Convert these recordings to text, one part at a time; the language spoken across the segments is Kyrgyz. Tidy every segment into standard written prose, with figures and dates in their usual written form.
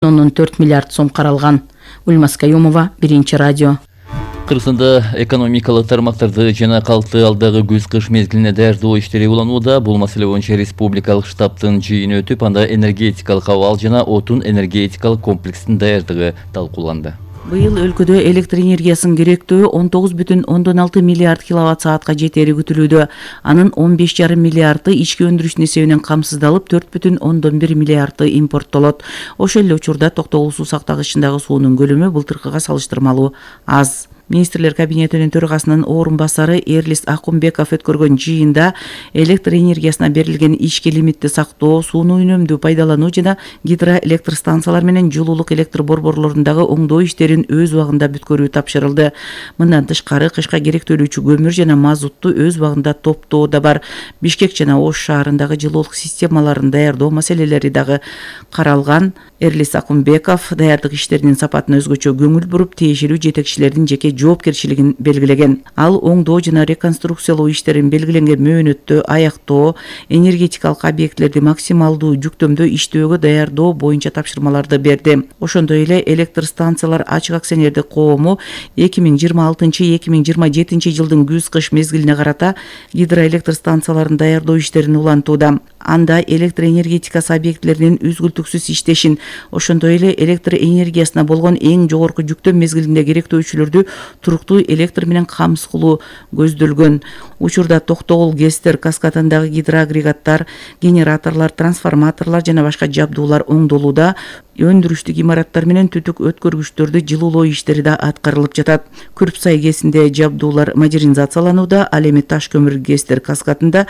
4 миллиард сом каралган. Ульмас Каюмова, Биринчи радио. Кыргызстанда экономикалык тармактарды жана калкты алдагы күз-кыш мезгилине даярдоо иштери уланууда. Бул маселе боюнча республикалык штабтын жыйыны өтүп, анда энергетикалык абал жана отун энергетикалык комплекстин даярдыгы талкууланды. Быйыл өлкөдө электр энергиясынын керектөө 19,6 миллиард киловатт саатка жетери күтүлүүдө. Анын 15,5 миллиарды ички өндүрүштүн эсебинен камсыздалып, 4,1 миллиарды импорттолот. Ошол эле учурда токтогул суу сактагычындагы суунун көлөмү былтыркыга салыштырмалуу аз. Министрлер кабинетинин төрагасынын орун басары Эрлис Акунбеков өткөргөн жыйында электр энергиясына берилген ички лимитти сактоо, сууну үнөмдүү пайдалануу жана гидроэлектр станциялар менен жылуулук электр борборлорундагы оңдоо иштерин өз убагында бүткөрүү тапшырылды. Мындан тышкары кышка керектөлүүчү көмүр жана мазутту өз убагында топтоо да бар. Бишкек жана Ош шаарындагы жылуулук системаларын даярдоо маселелери дагы каралган. Эрлис Акунбеков даярдык иштеринин сапатына өзгөчө көңүл буруп, тиешелүү жетекчилердин жеке жоопкерчилигин белгилеген. Ал оңдоо жана реконструкциялоо иштерин белгиленген мөөнөттө аяктоо, энергетикалык объектилерди максималдуу жүктөмдө иштөөгө даярдоо боюнча тапшырмаларды берди. Ошондой эле электр станциялар ачык акционердик коому 2026-2027 жылдын күз-кыш мезгилине карата гидроэлектр станцияларын даярдоо иштерин улантууда. Анда электр энергетикасы объектилеринин үзгүлтүксүз иштешин, ошондой эле электр энергиясына болгон эң жогорку жүктөм мезгилинде керектөөчүлөрдү туруктуу электр менен камсыз кылуу көздөлгөн. Учурда Токтогул, Кестер, Каскатындагы гидроагрегаттар, генераторлор, трансформаторлор жана башка жабдуулар оңдолууда. Өндүрүштүк имараттар менен түтүк өткөргүчтөрдү жылуулоо иштери да аткарылып жатат. Күрпсай КЭСинде жабдуулар модернизацияланууда. Ал эми Таш көмүр Кестер Каскатында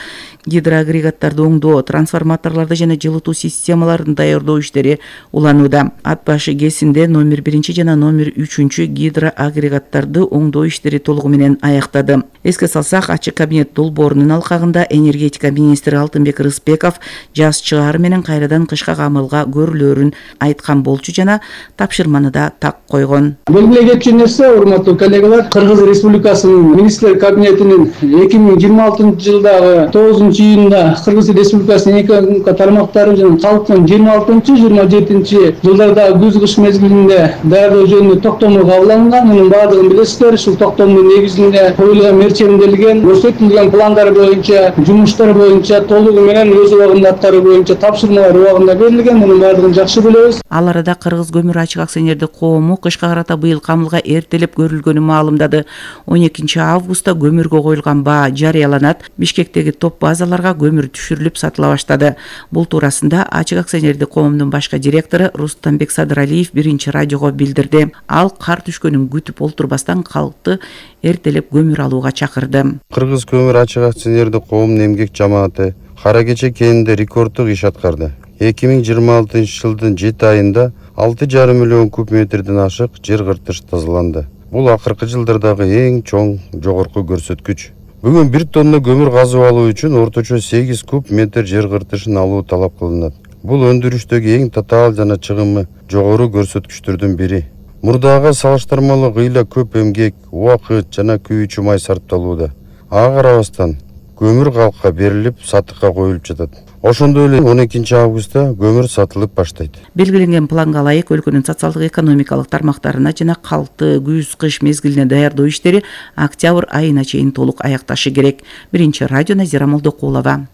гидроагрегаттарды оңдоо, трансформаторлорду жана жылытуу системаларын даярдоо иштери уланууда. Ат башы КЭСинде номер 1 жана номер 3 гидроагрегаттарды оңдоо иштери толугу менен аяктады. Эске салсак, ачык кабинет долбоорунун алкагында энергетика министри Алтынбек Рыспеков жаз чыгары менен кайрадан кышка камылга көрүлөрүн айткан болчу жана тапшырманы да так койгон. Белгилей кеткен нерсе, урматтуу коллегалар, Кыргыз Республикасынын министрлер кабинетинин 2026 жылдагы 9-июнда Кыргыз Республикасынын экономика тармактары жана калктын 26-27 жылдардагы күз-кыш мезгилинде даярдоо жөнүндө токтому кабыл алынган. Мунун баардыгын билесиздер. Ушул токтомдун негизинде коюлган мерчемделген, көрсөтүлгөн пландар боюнча, жумуштар боюнча толугу менен өз убагында аткаруу боюнча тапшырмалар убагында берилген. Мунун баардыгын жакшы билебиз. Ал арада Кыргыз көмүр ачык акционердик коому кышка карата быйыл камылга эртелеп көрүлгөнүн маалымдады. 12 августта көмүргө коюлган баа жарыяланат. Бишкектеги топ базаларга көмүр түшүрүлүп сатыла баштады. Бул туурасында ачык акционердик коомдун башка директору Рустамбек Садыралиев Биринчи радиого билдирди. Ал кар түшкөнүн күтүп олтурбастан калкты эртелеп көмүр алууга чакырды. Кыргыз көмүр ачык акционердик коомунун эмгек жамааты кара кече кенинде рекорддук иш аткарды. 2026 жылдын 7 айында 6,5 миллион куб метрден ашык жер кыртыш тазаланды. Бул акыркы жылдардагы эң чоң жогорку көрсөткүч. Бүгүн 1 тонна көмүр казып алуу үчүн орточо 8 куб метр жер кыртышын алуу талап кылынат. Бул өндүрүштөгү эң татаал жана чыгымы жогору көрсөткүчтөрдүн бири. Мурдага салыштырмалуу ыйла көп эмгек, убакыт жана күйүүчү май сарпталууда. Ага карабастан көмүр калкка берилип, сатыкка коюлуп жатат. Ошондой эле 12 августта көмүр сатылып баштайт. Белгиленген планга ылайык өлкөнүн социалдык экономикалык тармактарына жана калкты күз-кыш мезгилине даярдоо иштери октябрь айына чейин толук аякташы керек. Биринчи радио, Назира Молдокулова.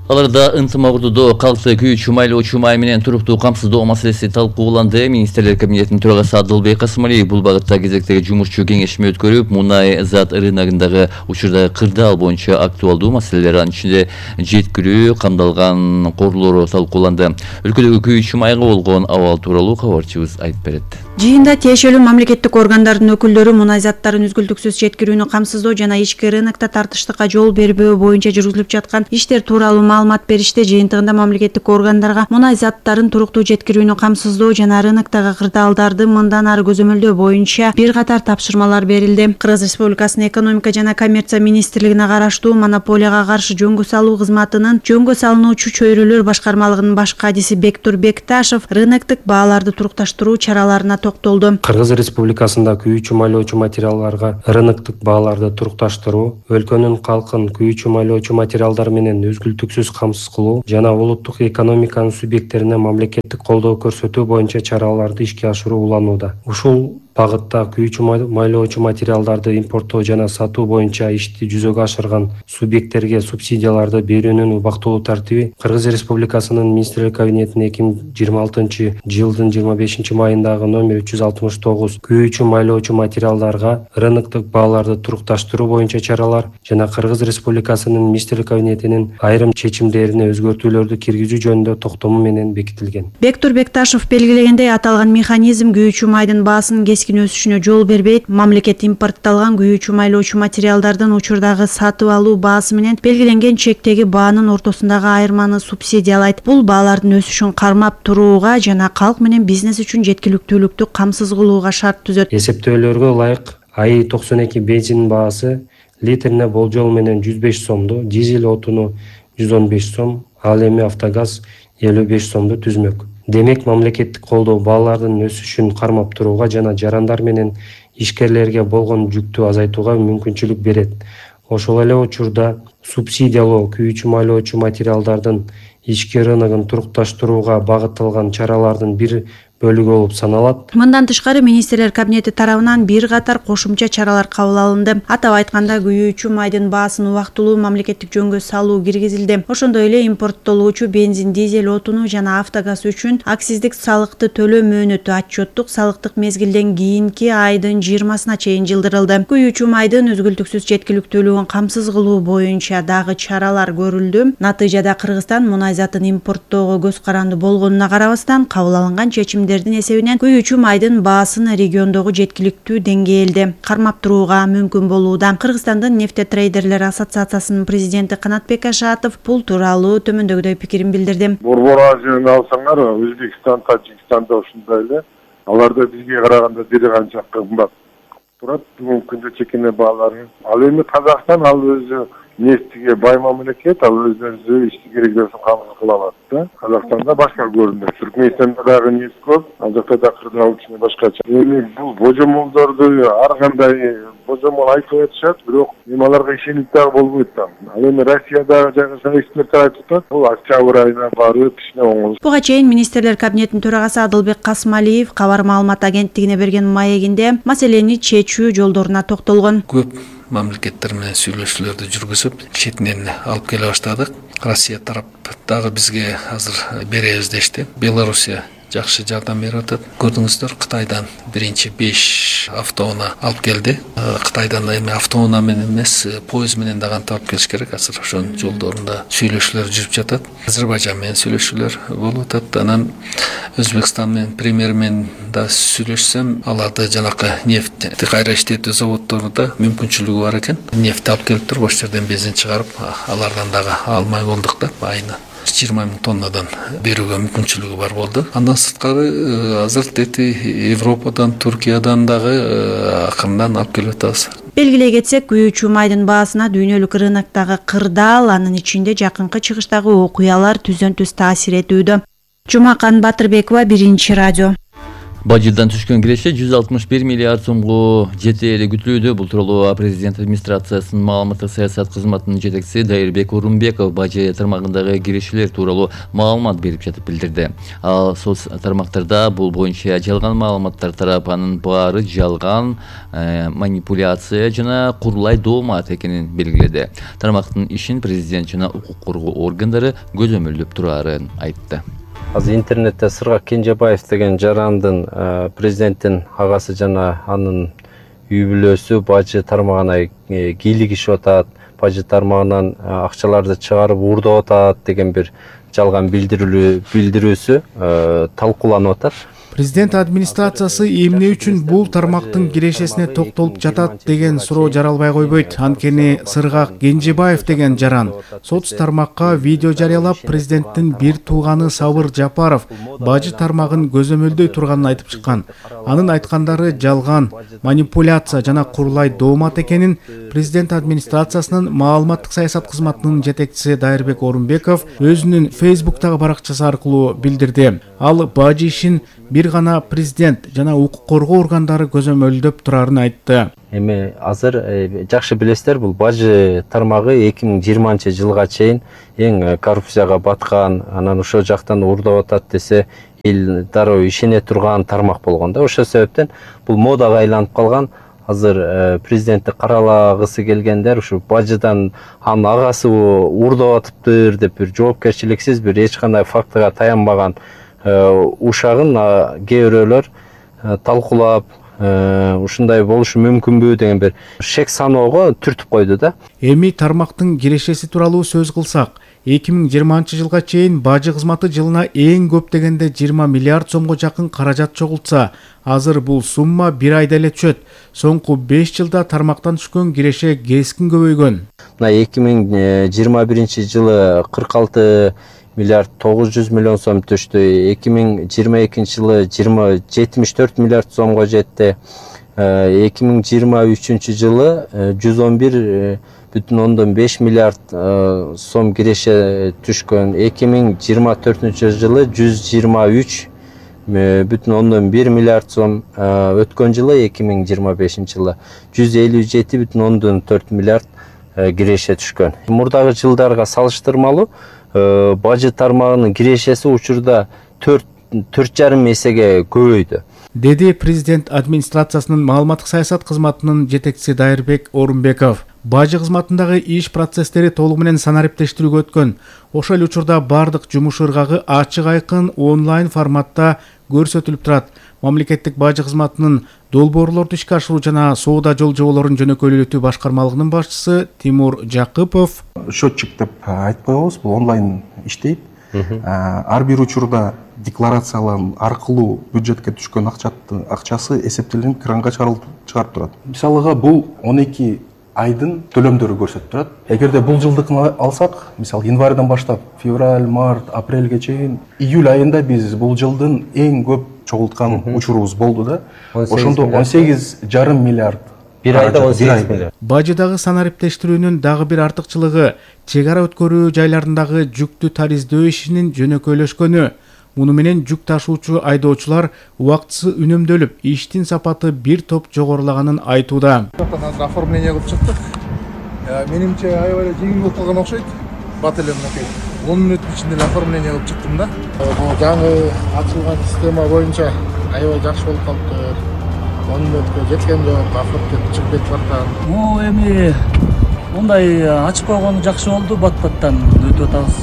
Аларда ынтымактуудо калкты күйүүчү майлоочу май менен туруктуу камсыздоо маселеси талкууланды. Министрлер кабинетинин төрагасы Адылбек Касымалиев бул багытта кезектеги жумушчу кеңешме өткөрүп, мунай зат рыногундагы учурда кырдаал боюнча актуалдуу маселелер, анын ичинде жеткирүү, камдалган корлору талкууланды. Өлкөдөгү күйүүчү майга болгон абал тууралуу кабарчыбыз айтып берет. Жыйында тиешелүү мамлекеттик органдардын өкүлдөрү мунай заттарын үзгүлтүксүз жеткирүүнү камсыздоо жана ички рынокто тартыштыкка жол бербөө боюнча жүргүзүлүп жаткан иштер тууралуу маалымат беришти. Жыйынтыгында мамлекеттик органдарга мунай заттарын туруктуу жеткирүүнү камсыздоо жана рыноктогу кырдаалдарды мындан ары көзөмөлдөө боюнча бир катар тапшырмалар берилди. Кыргыз Республикасынын экономика жана коммерция министрлигине караштуу монополияга каршы жөнгө салуу кызматынын жөнгө салынуучу чөйрөлөр башкармалыгынын баш кадиси Бектур Бекташев рыноктук бааларды турукташтыруу чараларына токтолду. Кыргыз Республикасында күйүүчү майлоочу материалдарга рыноктук бааларды турукташтыруу өлкөнүн калкын күйүүчү майлоочу материалдар менен үзгүлтүксүз үздүксүз камсыз кылуу жана улуттук экономиканын субъекттерине мамлекеттик колдоо көрсөтүү боюнча чараларды ишке ашыруу уланууда. Ушул багытта күйүүчү майлоочу материалдарды импорттоо жана сатуу боюнча ишти жүзөгө ашырган субъекттерге субсидияларды берүүнүн убактылуу тартиби Кыргыз Республикасынын Министрлер Кабинетинин 2026-жылдын 25 майындагы номер 369 күйүүчү майлоочу материалдарга рыноктук бааларды турукташтыруу боюнча чаралар жана Кыргыз Республикасынын Министрлер Кабинетинин айрым чечимдерине өзгөртүүлөрдү киргизүү жөнүндө токтому менен бекитилген. Бектур Бекташев белгилегендей, аталган механизм күйүүчү майдын баасынын кесkin өсүшүнө жол бербейт. Мамлекет импортталган күйүүчү майлоочу материалдардын учурдагы сатып алуу баасы менен белгиленген чектеги баанын ортосундагы айырманы субсидиялайт. Бул баалардын өсүшүн кармап турууга жана калк менен бизнес үчүн жеткиликтүүлүктү камсыз кылууга шарт түзөт. Эсептөөлөргө ылайык АИ 92 бензинин баасы литрине болжол менен 105 сомду, дизель отуну 115 сом, ал эми автогаз 55 сомду түзмөк. Демек, мамлекеттик колдоо баалардын өсүшүн кармап турууга жана жарандар менен ишкерлерге болгон жүктү азайтууга мүмкүнчүлүк берет. Ошол эле учурда субсидиялоо күйүүчү майлоочу материалдардын ички рыногун турукташтырууга багытталган чаралардын бир бөлүгү болуп саналат. Мындан тышкары Министрлер Кабинети тарабынан бир катар кошумча чаралар кабыл алынды. Атап айтканда, күйүүчү майдын баасын убактылуу мамлекеттик жөнгө салуу киргизилди. Ошондой эле импорттолуучу бензин, дизель отуну жана автогаз үчүн акциздик салыкты төлөө мөөнөтү отчеттук салыктык мезгилден кийинки айдын 20-сына чейин жылдырылды. Күйүүчү майдын өзгөлтүксүз жеткиликтүүлүгүн камсыз кылуу боюнча дагы чаралар көрүлдү. Натыйжада Кыргызстан мунай затын импорттоого көз каранды болгонуна карабастан, кабыл алынган чечимдердин эсебинен күйүүчү майдын баасын региондогу жеткиликтүү деңгээлде кармап турууга мүмкүн болууда. Кыргызстандын нефтетрейдерлер ассоциациясынын президенти Канатбек Ашатов бул тууралуу төмөндөгүдөй пикирин билдирди. Борбор Азияны алсаңар, Өзбекстан, Тажикстанда ушундай эле. Аларда бизге караганда бир канча кымбат турат. Бүгүнкү күндө чекене баалары. Ал эми Казакстан ал өзү нефтиге бай мамлекет, ал өзү ишти керектерин камсыз кыла алат да. Казакстанда башка көрүнөт. Түркмөнстанда дагы нефть көп, ал жакта да кырдаал үчүн башкача. Эми бул божомолдорду ар кандай божомол айтып атышат, бирок аларга ишенип дагы болбойт да. Ал эми Россиядагы жагы эксперттер айтып атат, бул октябрь айына барып ишине оңолуш. Буга чейин Министрлер Кабинетинин төрагасы Адылбек Касмалиев кабар маалымат агенттигине берген маегинде маселени чечүү жолдоруна токтолгон. Көп мамлекеттер менен сүйлөшүүлөрдү жүргүзүп, четинен алып келе баштадык. Россия тарап дагы бизге азыр беребиз дешти. Белоруссия жакшы жардам берип атат. Көрдүңүздөр, Кытайдан биринчи 5 автоунаа алып келди. Кытайдан эми автоунаа менен эмес, поезд менен дагы алып келиш керек. Азыр ошонун жолдорунда сүйлөшүүлөр жүрүп жатат. Азербайжан менен сүйлөшүүлөр болуп атат. Анан Өзбекстан менен премьер менен да сүйлөшсөм, аларды жанакы нефть кайра иштетүү заводдорунда мүмкүнчүлүгү бар экен. Нефть алып келип туруп, ошол жерден бензин чыгарып, алардан дагы алмай болдук да, айына 20 000 тоннадан берүүгө мүмкүнчүлүгү бар болду. Андан сырткары азыр Европадан, Туркиядан дагы акырындан алып келип атабыз. Белгилей кетсек, күйүүчү майдын баасына дүйнөлүк рыноктогу кырдаал, анын ичинде жакынкы чыгыштагы окуялар түздөн түз таасир этүүдө. Жумакан Батырбекова, Биринчи радио. Бажыдан түшкөн киреше 161 миллиард сомго жетери күтүлүүдө. Бул тууралуу президент администрациясынын маалыматтык саясат кызматынын жетекчиси Дайырбек Орунбеков бажы тармагындагы кирешелер тууралуу маалымат берип жатып билдирди. Ал соц тармактарда бул боюнча жалган маалыматтар тарап, анын баары жалган, манипуляция жана курулай доомат экенин белгиледи. Тармактын ишин президент жана укук коргоо органдары көзөмөлдөп турарын айтты. Азыр интернетте Сыргак Кенжебаев деген жарандын президенттин агасы жана анын үй бүлөсү бажы тармагына кийлигишип атат, бажы тармагынан акчаларды чыгарып уурдап атат деген бир жалган билдирүүсү талкууланып атат. Президент администрациясы эмне үчүн бул тармактын кирешесине токтолуп жатат деген суроо жаралбай койбойт. Анткени Сыргак Кенжебаев деген жаран соц тармакка видео жарыялап, президенттин бир тууганы Сабыр Жапаров бажы тармагын көзөмөлдөй турганын айтып чыккан. Анын айткандары жалган, манипуляция жана курулай доомат экенин президент администрациясынын маалыматтык саясат кызматынын жетекчиси Дайырбек Орунбеков өзүнүн Facebook'тагы баракчасы аркылуу билдирди. Ал бажы ишин бир бир гана президент жана укук коргоо органдары көзөмөлдөп турарын айтты. Эми азыр жакшы билесиздер, бул бажы тармагы 2020-жылга чейин эң коррупцияга баткан, анан ошол жактан уурдап атат десе эл дароо ишене турган тармак болгон да. Ошол себептен бул модага айланып калган. Азыр президентти каралагысы келгендер ушу бажыдан анын агасы уурдап атыптыр деп бир жоопкерчиликсиз, бир эч кандай фактыга таянбаган ушагын кээ бирөөлөр талкуулап ушундай болушу мүмкүнбү деген бир шек саноого түртүп койду да. Эми тармактын кирешеси тууралуу сөз кылсак, 2020-жылга чейин бажы кызматы жылына эң көп дегенде 20 миллиард сомго жакын каражат чогултса, азыр бул сумма бир айда эле түшөт. Соңку 5 жылда тармактан түшкөн киреше кескин көбөйгөн. Мына 2021-жылы 46 миллиард 900 миллион сом түштү. 2022-жылы 74 миллиард сомго жетти. 2023-жылы 111,5 миллиард сом киреше түшкөн. 2024-жылы 123,1 миллиард сом, өткөн жылы 2025-жылы 157,4 миллиард киреше түшкөн. Мурдагы жылдарга салыштырмалуу бажы тармагынын кирешеси учурда 4,5 эсеге көбөйдү, деди президент администрациясынын маалыматтык саясат кызматынын жетекчиси Дайырбек Орунбеков. Бажы кызматындагы иш процесстери толугу менен санариптештирүүгө өткөн. Ошол эле учурда бардык жумуш ыргагы ачык айкын онлайн форматта көрсөтүлүп турат. Мамлекеттик бажы кызматынын долбоорлорду ишке ашыруу жана соода жол жоболорун жөнөкөйлөтүү башкармалыгынын башчысы Тимур Жакыпов. Счетчик деп айтпай коебуз, бул онлайн иштейт. Ар бир учурда декларациялар аркылуу бюджетке түшкөн акчасы эсептелинип кранга чыгарып турат. Мисалыга бул 12 айдын төлөмдөрү көрсөтүп турат. Эгерде бул жылдыкын алсак, мисалы январдан баштап февраль, март, апрелге чейин, июль айында биз бул жылдын эң көп чогулткан учурубуз болду да. Ошондо 18,5 миллиард. Бир айда 18 миллиард. Бажыдагы санариптештирүүнүн дагы бир артыкчылыгы чек ара өткөрүү жайларындагы жүктү тариздөө ишинин жөнөкөйлөшкөнү. Муну менен жүк ташуучу айдоочулар убактысы үнөмдөлүп, иштин сапаты бир топ жогорулаганын айтууда. Оформление кылып чыктык. Менимче аябай жеңил болуп калган окшойт. Бат эле мынакей 10 мүнөт ичинде оформление кылып чыктым да. Бул жаңы ачылган система боюнча аябай жакшы болуп калыптыр. 10 мүнөткө жеткен жок, оформление чыгып кетип баратат. Эми мындай ачып койгону жакшы болду, бат-баттан өтүп атабыз.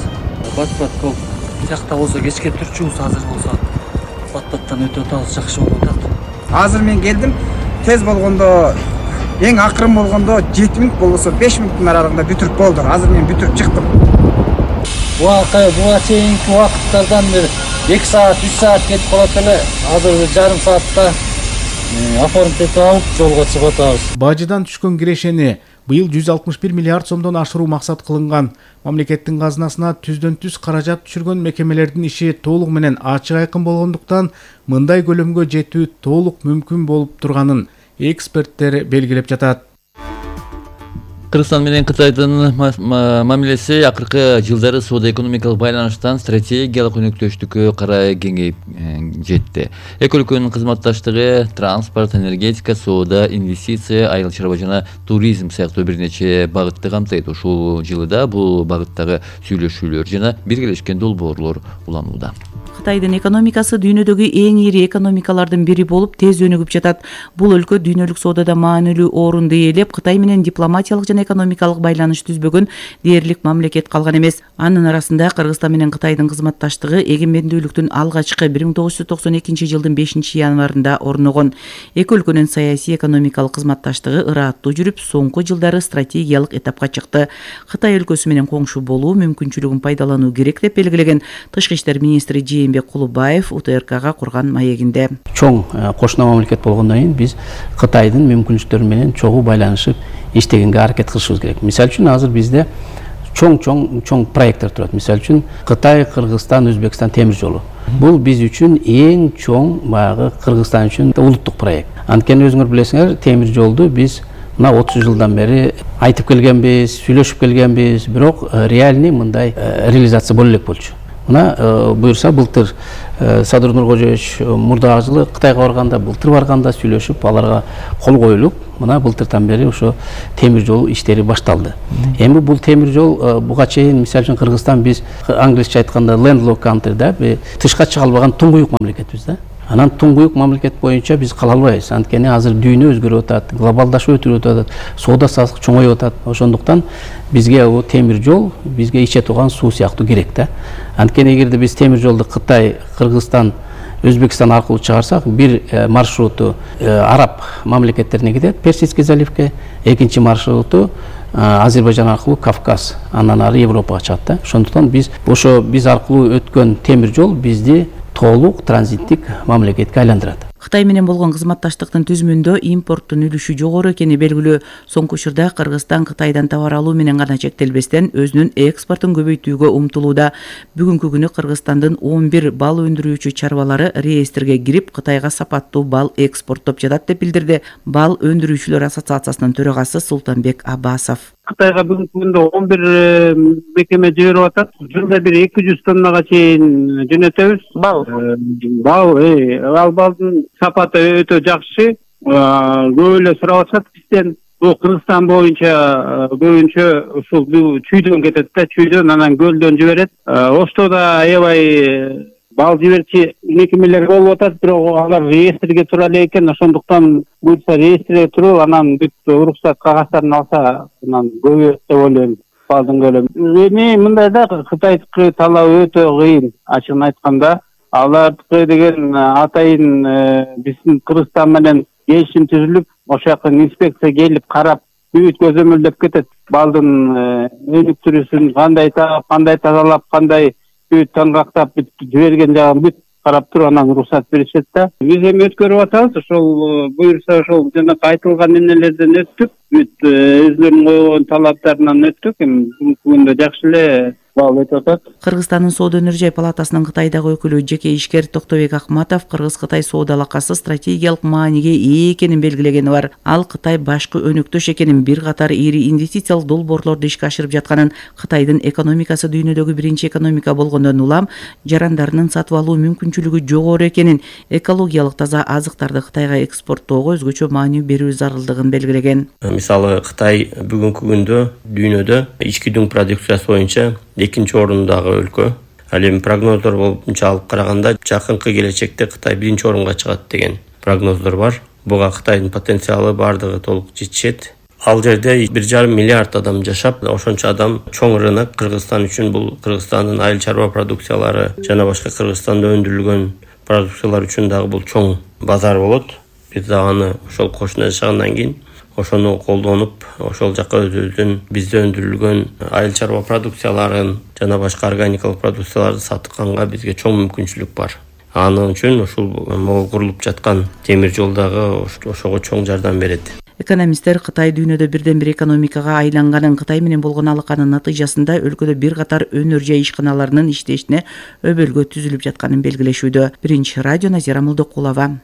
Бат-бат болуп жакта болсо кечке түрчүбүз, азыр болсо бат-баттан өтүп атабыз, жакшы болуп атат. Азыр мен келдим, тез болгондо, эң акырын болгондо 7 мүнөт болбосо 5 мүнөттүн аралыгында бүтүрүп болду. Азыр мен бүтүрүп чыктым. Буга чейинки убакыттардан бир 2 саат, 3 саат кетип калат эле. Азыр жарым саатта оформить алып жолго чыгып атабыз. Бажыдан түшкөн кирешени быйыл 161 миллиард сомдон ашыруу максат кылынган. Мамлекеттин казынасына түздөн түз каражат түшүргөн мекемелердин иши толугу менен ачык айкын болгондуктан мындай көлөмгө жетүү толук мүмкүн болуп турганын эксперттер белгилеп жатат. Кыргызстан менен Кытайдын мамилеси акыркы жылдары соода-экономикалык байланыштан стратегиялык өнөктөштүккө карай кеңейип жетти. Эки өлкөнүн кызматташтыгы транспорт, энергетика, соода, инвестиция, айыл чарба жана туризм сыяктуу бир нече багытты камтыйт. Ушул жылда бул багыттагы сүйлөшүүлөр жана биргелешкен долбоорлор уланууда. Кытайдын экономикасы дүйнөдөгү эң ири экономикалардын бири болуп тез өнүгүп жатат. Бул өлкө дүйнөлүк соодада маанилүү орунду ээлеп, Кытай менен дипломатиялык жана экономикалык байланыш түзбөгөн дээрлик мамлекет калган эмес. Анын арасында Кыргызстан менен Кытайдын кызматташтыгы эгемендүүлүктүн алгачкы 1992 жылдын 5 январында орногон. Эки өлкөнүн саясий экономикалык кызматташтыгы ыраттуу жүрүп, соңку жылдары стратегиялык этапка чыкты. Кытай өлкөсү менен коңшу болуу мүмкүнчүлүгүн пайдалануу керек деп белгилеген Тышкы иштер министри Жээнбек Кулубаев УТРКга курган маегинде. Чоң кошуна мамлекет болгондон кийин биз Кытайдын мүмкүнчүлүктөрү менен чогуу байланышып иштегенге аракет кылышыбыз керек. Мисалы үчүн азыр бизде чоң проекттер турат. Мисалы үчүн Кытай, Кыргызстан, Өзбекстан темир жолу. Бул биз үчүн эң чоң баягы Кыргызстан үчүн улуттук проект. Анткени өзүңөр билесиңер, темир жолду биз мына 30 жылдан бери айтып келгенбиз, сүйлөшүп келгенбиз, бирок реальный мындай реализация боло элек болчу. Мына буюрса былтыр Садыр Нуркожоевич мурдагы жылы Кытайга барганда, былтыр барганда сүйлөшүп, аларга кол коюлуп, мына былтырдан бери ошо темир жол иштери башталды. Эми бул темир жол буга чейин мисалы үчүн Кыргызстан биз англисче айтканда landlocked country да, тышка чыга албаган туңгуюк мамлекетбиз да. Анан туңгуюк мамлекет боюнча биз кала албайбыз. Анткени азыр дүйнө өзгөрүп атат, глобалдашуу өтүп атат, соода саттык чоңоюп атат. Ошондуктан бизге бул темир жол бизге иче турган суу сыяктуу керек да. Анткени эгерде биз темир жолду Кытай, Кыргызстан, Өзбекстан аркылуу чыгарсак, бир маршруту араб мамлекеттерине кетет, Персидский заливке, экинчи маршруту Азербайжан аркылуу Кавказ, андан ары Европага чыгат да. Ошондуктан биз аркылуу өткөн темир жол бизди толук транзиттик мамлекетке айландырат. Кытай менен болгон кызматташтыктын түзүмүндө импорттун үлүшү жогору экени белгилүү. Соңку учурда Кыргызстан Кытайдан товар алуу менен гана чектелбестен өзүнүн экспортун көбөйтүүгө умтулууда. Бүгүнкү күнү Кыргызстандын 11 бал өндүрүүчү чарбалары реестрге кирип, Кытайга сапаттуу бал экспорттоп жатат деп билдирди Бал өндүрүүчүлөр ассоциациясынын төрагасы Султанбек Аббасов. Кытайга бүгүнкү күндө 11 мекеме жиберип атат. Жылда бир 200 тоннага чейин жөнөтөбүз. Ал балдын сапаты өтө жакшы. Көп эле сурап атышат бизден. Бул Кыргызстан боюнча көбүнчө ушул чүйдөн кетет да, чүйдөн анан көлдөн жиберет. Оштода аябай бал жиберчи мекемелер болуп атат, бирок алар реестрге тура эле экен. Ошондуктан буюрса реестрге туруп, анан бүт уруксат кагаздарын алса, анан көбөйөт деп ойлойм балдын көлөмү. Эми мындай да, Кытайдыкы талап өтө кыйын, ачыгын айтканда. Алардыкы деген атайын биздин Кыргызстан менен келишим түзүлүп, ошол жака инспекция келип карап, бүт көзөмөлдөп кетет. Балдын өнүктүрүүсүн кандай тазалап, кандай бүт таңгактап жиберген жагын бүт карап туруп, анан уруксат беришет да. Биз эми өткөрүп атабыз, ошол буюрса ошол жанакы айтылган эмнелерден өттүк, бүт өзүлөрүнүн койгон талаптарынан өттүк. Эми бүгүнкү күндө жакшы эле бал өтүп атат. Кыргызстандын соода өнөр-жай палатасынын Кытайдагы өкүлү жеке ишкер Токтобек Акматов Кыргыз-Кытай соода алакасы стратегиялык мааниге ээ экенин белгилегени бар. Ал Кытай башкы өнөктөш экенин, бир катар ири инвестициялык долбоорлорду ишке ашырып жатканын, Кытайдын экономикасы дүйнөдөгү биринчи экономика болгондон улам жарандарынын сатып алуу мүмкүнчүлүгү жогору экенин, экологиялык таза азыктарды Кытайга экспорттоого өзгөчө маани берүү зарылдыгын белгилеген. Мисалы Кытай бүгүнкү күндө дүйнөдө ички дүң продукциясы боюнча экинчи орундағы өлкө. Ал эми прогноздор боюнча алып караганда жакынкы келечекте Кытай биринчи орунга чыгат деген прогноздор бар. Буга Кытайдын потенциалы бардыгы толук жетишет. Ал жерде 1,5 миллиард адам жашап, ошончо адам чоң рынок. Кыргызстан үчүн бул Кыргызстандын айыл чарба продукциялары жана башка Кыргызстанда өндүрүлгөн продукциялар үчүн дагы бул чоң базар болот. Биз дагы аны ошол кошуна жашагандан кийин ошону колдонуп, ошол жака өзүбүздүн бизде өндүрүлгөн айыл чарба продукцияларын жана башка органикалык продукцияларды сатканга бизге чоң мүмкүнчүлүк бар. Анын үчүн ушул могу курулуп жаткан темир жол дагы ошого чоң жардам берет. Экономисттер Кытай дүйнөдө бирден бир экономикага айланганын, Кытай менен болгон алаканын натыйжасында өлкөдө бир катар өнөр-жай ишканаларынын иштешине өбөлгө түзүлүп жатканын белгилешүүдө. Биринчи радио Назира Молдокулова.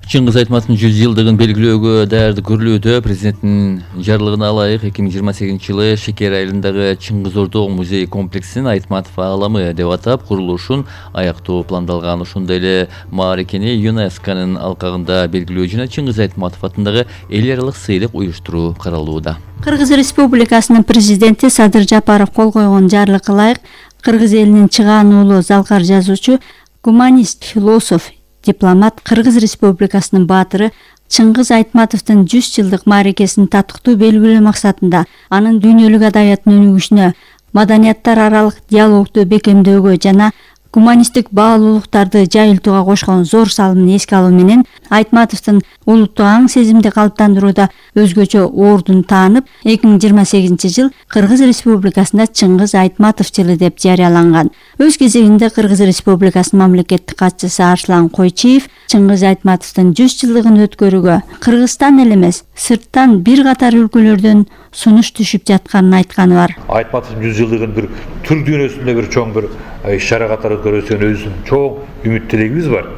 Чыңгыз Айтматовдун 100 жылдыгын белгилөөгө даярдык көрүлүүдө. Президенттин жарлыгына ылайык 2028 жылы Шекер айылындагы Чыңгыз Ордоо музей комплексин Айтматов ааламы деп атап курулушун аяктоо пландалган. Ошондой эле мааракени ЮНЕСКОнун алкагында белгилөө жана Чыңгыз Айтматов атындагы эл аралык сыйлык уюштуруу каралууда. Кыргыз Республикасынын президенти Садыр Жапаров кол койгон жарлыкка ылайык Кыргыз элинин чыгаануулуу залкар жазуучу, гуманист, философ, дипломат, Кыргыз Республикасынын баатыры Чыңгыз Айтматовдун 100 жылдык мааракесин татыктуу белгилөө максатында анын дүйнөлүк адабияттын өнүгүшүнө, маданияттар аралык диалогду бекемдөөгө жана гуманисттик баалуулуктарды жайылтууга кошкон зор салымын эске алуу менен Айтматовдун улуттук аң сезимди калыптандырууда өзгөчө ордун таанып, 2028 жыл Кыргыз Республикасында Чыңгыз Айтматов жылы деп жарыяланган. Өз кезегинде Кыргыз Республикасынын мамлекеттик катчысы Арслан Койчиев Чыңгыз Айтматовдун 100 жылдыгын өткөрүүгө Кыргызстан эле эмес, сырттан бир катар өлкөлөрдөн сунуш түшүп жатканын айтканы бар. Айтматовдун 100 жылдыгын бир түрк дүйнөсүндө бир чоң бир иш-чара катары өткөрүүсүнө өзүнүн чоң үмүт тилегибиз бар.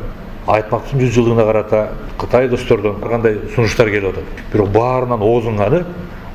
Айтматовдун 100 жылдыгына карата Кытай достордон кандай сунуштар келип атат. Бирок баарынан оозунганы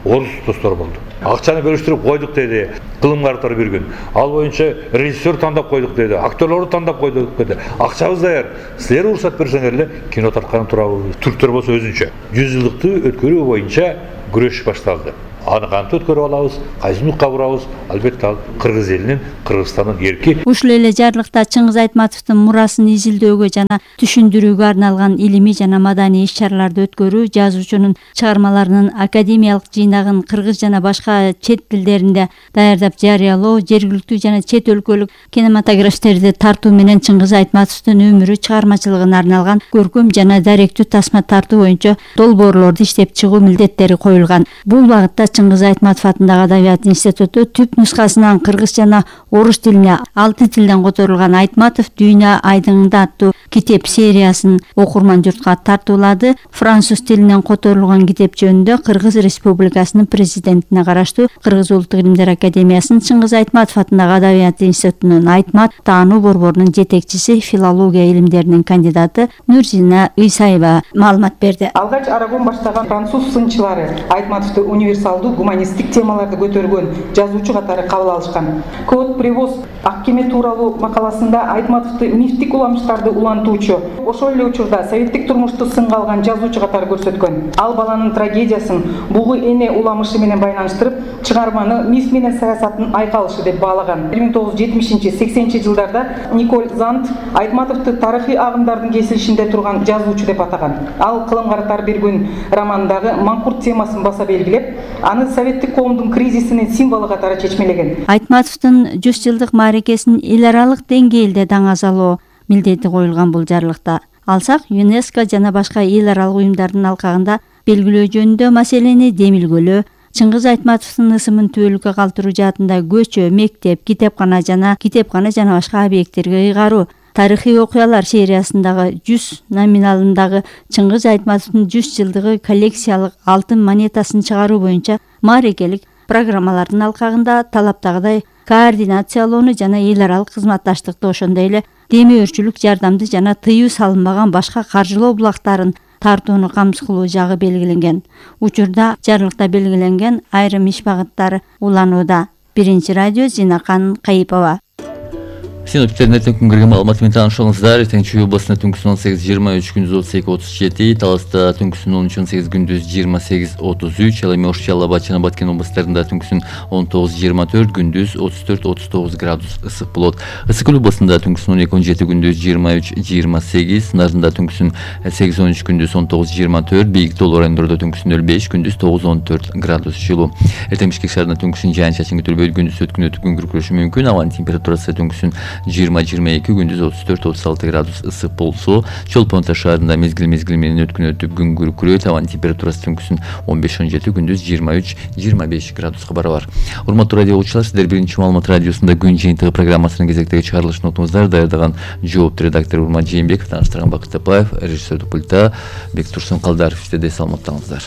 орус достор болду. Акчаны бөлүштүрүп койдук деди, кылым карттар бир күн. Ал боюнча режиссер тандап койдук деди, актерлорду тандап койдук деди. Акчабыз даяр. Силер уруксат берсеңер эле кино тарткан турабыз. Түрктөр болсо өзүнчө 100 жылдыкты өткөрүү боюнча күрөш башталды. Аны кантип өткөрүп алабыз, кайсы нукка бурабыз? Албетте ал кыргыз элинин, Кыргызстандын эрки. Ушул эле жарлыкта Чыңгыз Айтматовдун мурасын изилдөөгө жана түшүндүрүүгө арналган илимий жана маданий иш-чараларды өткөрүү, жазуучунун чыгармаларынын академиялык жыйнагын кыргыз жана башка чет тилдеринде даярдап жарыялоо, жергиликтүү жана чет өлкөлүк кинематографисттерди тартуу менен Чыңгыз Айтматовдун өмүрү, чыгармачылыгына арналган көркөм жана даректүү тасма тартуу боюнча долбоорлорду иштеп чыгуу милдеттери коюлган. Бул багытта Чыңгыз Айтматов атындагы Адабият институту түп нускасынан кыргыз жана орус тилине 6 тилден которулган Айтматов дүйнө айдыңында аттуу китеп сериясын окурман журтка тартуулады. Француз тилинен которулган китеп жөнүндө Кыргыз Республикасынын президентине караштуу Кыргыз Улуттук илимдер академиясынын Чыңгыз Айтматов атындагы Адабият институтунун Айтмат таануу борборунун жетекчиси, филология илимдеринин кандидаты Нурзина Ыйсаева маалымат берди. Алгач Арагон баштаган француз сынчылары Айтматовду универсалдуу гуманисттик темаларды көтөргөн жазуучу катары кабыл алышкан. Код привоз ак кеме тууралуу макаласында Айтматовду мифтик уламыштарды улантуучу, ошол эле учурда советтик турмушту сынга алган жазуучу катары көрсөткөн. Ал баланын трагедиясын бугу эне уламышы менен байланыштырып, чыгарманы миф менен саясаттын айкалышы деп баалаган. 1970-80 жылдарда Николь Зант Айтматовду тарыхый агымдардын кесилишинде турган жазуучу деп атаган. Ал кылым карттар бир күн романындагы маңкурт темасын баса белгилеп, аны советтик коомдун кризисинин символу катары чечмелеген. Айтматовдун 100 жылдык мааракесин эл аралык деңгээлде даңазалоо милдети коюлган бул жарлыкта. Алсак, ЮНЕСКО жана башка эл аралык уюмдардын алкагында белгилөө жөнүндө маселени демилгөлөө, Чыңгыз Айтматовдун ысымын түбөлүккө калтыруу жаатында көчө, мектеп, китепкана жана башка объекттерге ыйгаруу, тарыхый окуялар сериясындагы 100 номиналындагы Чыңгыз Айтматовдун 100 жылдыгы коллекциялык алтын монетасын чыгаруу боюнча мааракелик программалардын алкагында талаптагыдай координациялоону жана эл аралык кызматташтыкты, ошондой эле демөөрчүлүк жардамды жана тыюу салынбаган башка каржылоо булактарын тартууну камсыз кылуу жагы белгиленген. Учурда жарлыкта белгиленген айрым иш багыттары уланууда. Биринчи радио, Зинакан Кайыпова. Синоптиктердин эртең күнгөргөн маалыматы менен таанышыңыздар. Эртең Чүй областында түнкүсүн 18-23, күндүз 32-37, Таласта түнкүсүн 13-18, күндүз 28-33, ал эми Ош, Жалал-Абад жана Баткен областарында түнкүсүн 19-24, күндүз 34-39 градус ысык болот. Ысык Көл областында түнкүсүн 12-17, күндүз 23-28, Нарында түнкүсүн 8-13, күндүз 19-24, Бийик тоолуу райондордо түнкүсүн 05, күндүз 9-14 градус жылуу. Эртең Бишкек шаарында түнкүсүн жаан-чачын күтүлбөйт, күндүз өткүн күркүрөшү мүмкүн. Абанын температурасы түнкүсүн 20-22, күндүз 34-36 градус ысык болсо, Чолпон-Ата шаарында мезгил менен өткүн өтүп күн күркүрөйт. Абанын температурасы түнкүсүн 15-17, күндүз 23-25 градуска барабар. Урматтуу радио угуучулар, сиздер биринчи маалымат радиосунда күн жыйынтыгы программасынын кезектеги чыгарылышын отуңуздар. Даярдаган жооптуу редактор Урмат Жээнбеков, тааныштырган Бакыт Тапаев, режиссердик пультта Бектурсун Калдаров. Сиздерде саламаттаңыздар.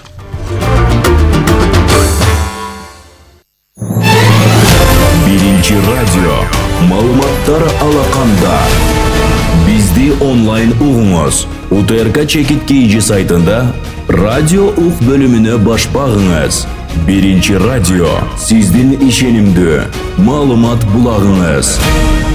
Биринчи радио маалыматтар алаканда. Бизди онлайн угуңуз. УТРК Чекит KG сайтында радио ук бөлүмүнө баш багыңыз. Биринчи радио сиздин ишенимдүү маалымат булагыңыз.